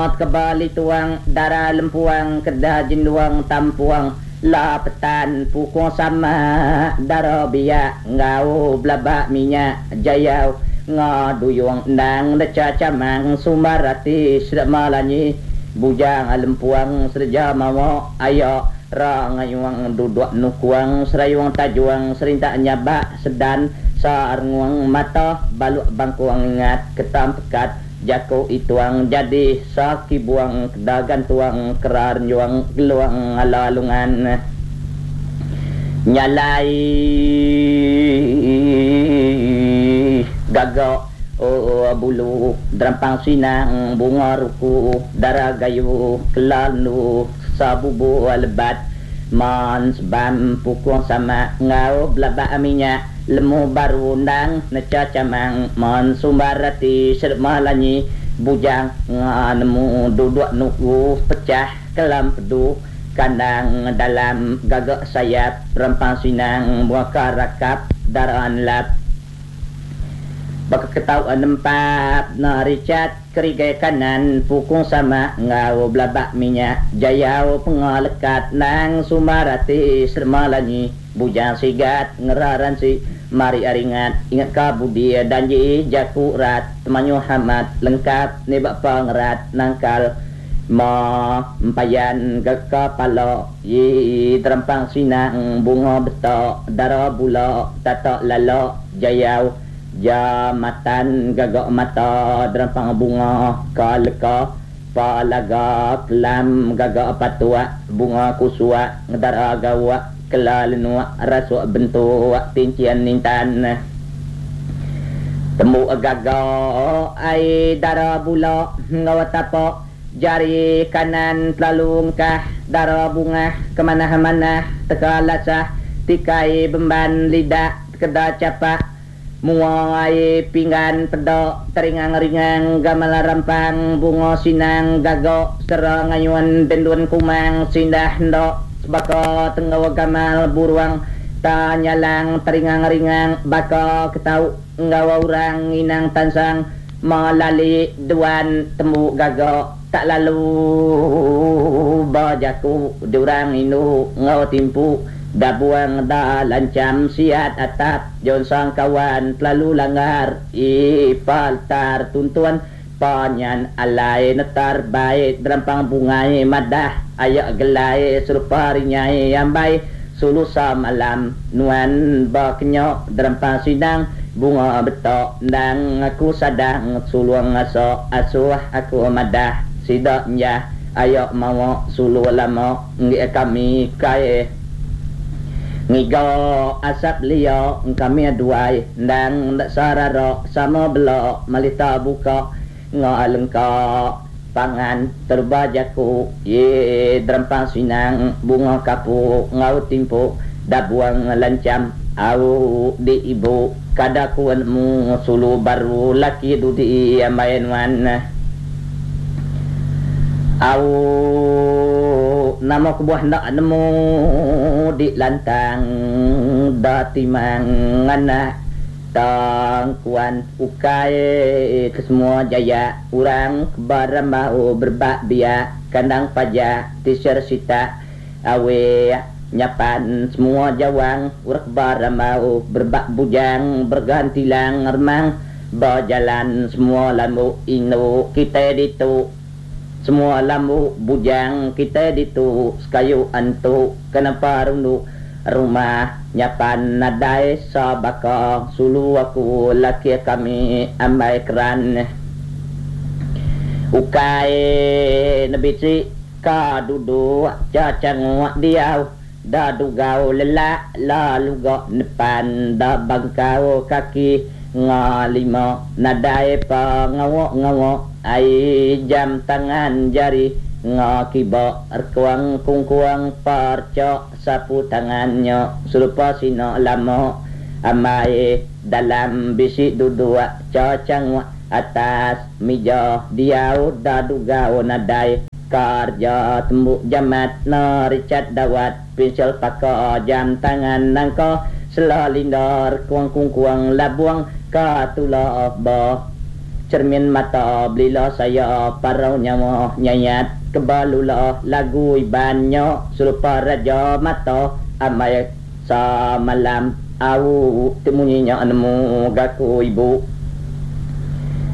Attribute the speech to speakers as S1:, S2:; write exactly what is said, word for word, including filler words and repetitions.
S1: Kebali tuang darah lempuang kedah jenduang tampuang la petan pukung sama darah biak ngau belabak minyak jayau ngaduyung endang deca camang sumbarati sedak malanyi bujang lempuang serja mawa ayo rangayuang duduk nukuang serayuang tajuang serintak nyabak sedan sarnguang mata baluk bangkuang ingat ketam pekat jako ituang jadi saki buang kedagan tuang kerar juang geluang alalungan nyalai gagak oh bulu derampang sinang bunga ruku darah gayu kelalu sabubu lebat man sebam pukung sama ngau belabak minyak lemu baru undang neca camang man sumbarati serma lanyi bujang nganemu duduk nuku pecah kelam pedu kandang dalam gagak sayap rempang sinang buah karakap darah lap baka ketau nempat naricat kerigai kanan pukung sama ngau belabak minyak jayau pengalekat nang sumbarati serma lanyi bujang sigat ngeraran si mari aringat ingat ka budi danji jakurat temanyu hamat lengkap ni bak pangerat nangkal ma empayan geka pala yi terempang sinang bunga betok darah bula tatak lalak jayau jamatan gagak mata derampang bunga kaleka palaga kelam gagak patuak bunga kusuak ngedara gawak kelalenuak rasuk bentuk tincian nintan temu gagak ai darah bula ngawa tapak jari kanan terlalu ngkah darah bunga kemana-mana teka lasah tikai bemban lidak keda capak muai pinggan pedok teringang-ringang gamal rampang bunga sinang gagok serang ayuan dendun kumang sindah ndok sebaka tenggawa gamal buruang tanyalang teringang-ringang baka ketau nggawa urang inang tansang malali duan temu gagok tak lalu bajaku diurang inu ngau timpu dabuang da lancam siat atap jon sang kawan terlalu langgar ipaltar tuntuan panyan alai netar baik derampang bungai madah ayak gelai serupa rinyai ambai sulu samalam nuan bakenyok derampang sidang bunga betok ndang aku sadang suluang asok asuh aku madah sidak nyah ayak mawa sulu lama ngi kami kai ngiga asap lia kami aduai ndang ndak sarara sama belok malita buka ngalengka pangan terbajaku ye derampang sinang bunga kapuk ngau timpu dabuang lancam au di ibu kadakuanmu sulu baru laki dudi ambayan wan au nama kebuah nak nemu di lantang da timang anak tangkuan ukai ke semua jaya urang kebarambau berbak biak kandang pajak tisir sita awe nyapan semua jawang urang kebarambau berbak bujang bergantilang remang berjalan semua lambu inu kita ditu semua lambu bujang kita ditu sekayu antu kenapa rundu rumah nyapan nadai sabaka sulu aku laki kami ambai keran ukai nebisi ka duduk cacanguak diau da dugau lelak lalu gak depan da bangkau kaki ngalima nadai pa ngawak-ngawak ai jam tangan jari ngakiba erkuang kungkuang parcok sapu tangannya serupa sino lama amai dalam bisik duduk cacang atas meja diau dadugau nadai kerja tembuk jamat naricat dawat pincel paka jam tangan nangka selalindar kuang kungkuang labuang katula ba Cermin mata belila saya parau nyawa nyayat kebalula lagu Iban nya serupa raja mata amai samalam au ti munyi nya nemu gaku ibu.